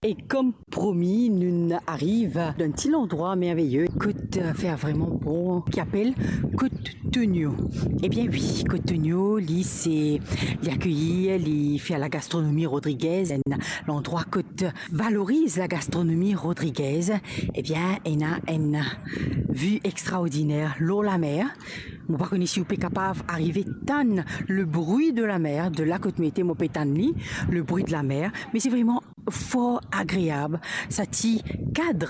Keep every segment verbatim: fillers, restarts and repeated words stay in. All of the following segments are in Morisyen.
E kom promi, nou ariv dan enn ti landrwa merveye kot, eh, fer vreman bon, ki apel Kot Tonio. Ebien wi, Kot Tonio, li se, li akeyi, li fer lagastronomi rodrigez, enn landrwa kot valoriz lagastronomi rodrigez. Ebien, ena enn vi extraordiner lor lamer. Mo pa kone si ou pe kapav arive tann le bri de lamer, de la kot mo ete, mo pe tann li, le bri de lamer, me se vreman for agreab, sa ti kad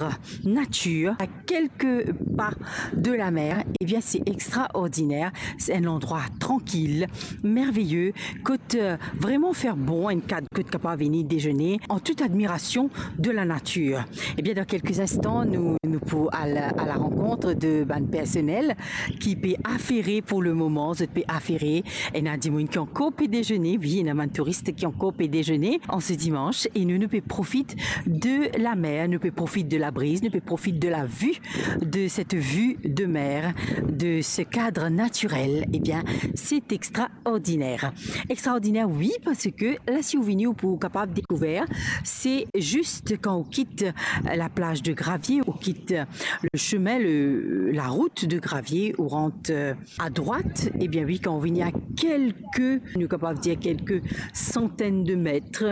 natir, a kelke pa de lamer. Ebien, se extraordiner, se enn landrwa trankil, merveye, kot, eh, vreman fer bon, enn kad kot kapav vini dezene an tout admirasion de la natir. Ebien, dan kelke instan, nou, nou pou al a la rankont de bann personel ki pe afere pou le moman, zot pe afere. Ena dimoun ki ankor pe dezene, wi, ena bann touris ki ankor pe dezene an se dimans, e nou, nou pe profit de lamer, nou pe profit de labriz, nou pe profit de la vi, de cette vue de mer, de ce cadre naturel. Ebien, se extraordiner. Extraordiner, wi, parski la, si ou vini, ou pou kapav dekouver, se zis kan ou kit la plaz de Gravie, ou kit le semin, le, la rout de Gravie, ou rant, eh, a drwat, ebien wi, kan ou vini a kelke, nou kapav dir kelke santenn de met,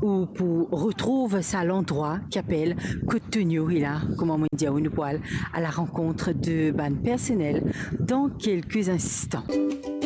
ou pou retrouv sa landrwa ki apel Kot Tonio. E la, kouma mo dir, nou pou al a la rankont de bann personel dan kelke instan.